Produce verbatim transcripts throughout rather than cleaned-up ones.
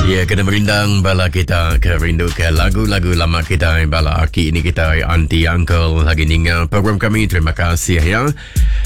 Ya, kena merindang bala kita ke rindu ke lagu-lagu lama kita, bala aki ini kita, auntie, uncle lagi ninga program kami. Terima kasih ya.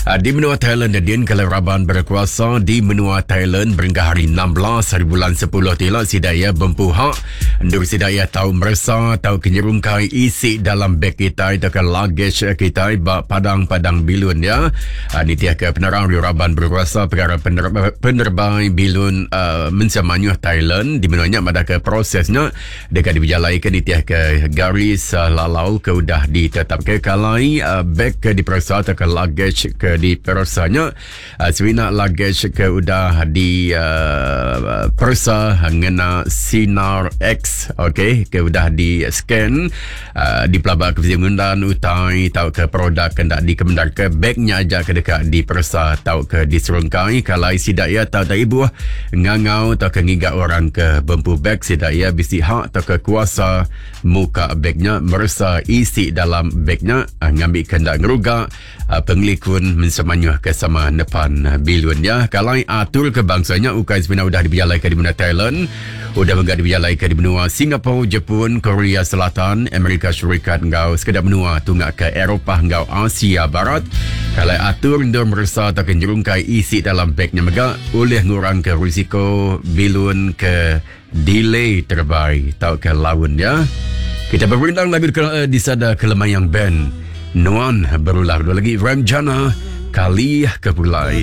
Ah, di menua Thailand, din kalau raban berkuasa di menua Thailand berengkah hari enam belas hari bulan sepuluh tila sidaya bempuhak endur sidaya tau meresa tau kenyerungkai isi dalam beg kita atau ke luggage kita ba padang-padang bilun ya. Ah, nitiah ke penerang raban berkuasa perkara pener- penerbai bilun uh, mensemanyuh Thailand di menuanya pada ke prosesnya dekat diberjalai ke nitiah ke garis uh, lalau ke udah ditetap ke kalai uh, beg ke diperiksa atau ke luggage ke dipersanya uh, semina luggage ke udah di uh, periksa ngena sinar X, okey, ke udah di scan uh, di pelabak ke ngundan utai tau ke produk ke ndak dikemendar ke bagnya aja ke dekat diperiksa tau ke diserungkai kalai sidak ya tau tak ibu ngangau tau ke ngigak orang ke bempu beg sidak ya bisi hak atau ke kuasa muka bagnya meresa isi dalam bagnya uh, ngambil kendak ngeruga uh, pengelikun mensemanyuh ke sama depan bilun ya. Kalau atur ke bangsanya ukai sebenarnya udah diberjalai ke di benua Thailand, udah menggak diberjalai ke di benua Singapura, Jepun, Korea Selatan, Amerika Syarikat ngau sekedar benua tunggak ke Eropah ngau Asia Barat. Kalau atur ndur meresa atau ke nyerungkai isi dalam bagnya mega oleh ngurang ke risiko bilun ke delay terbaik tau ke laun ya. Kita berundang lagu di, di sada Kelemayang Band. Nuan berulah dua lagi Ramjana Kali Kepulai.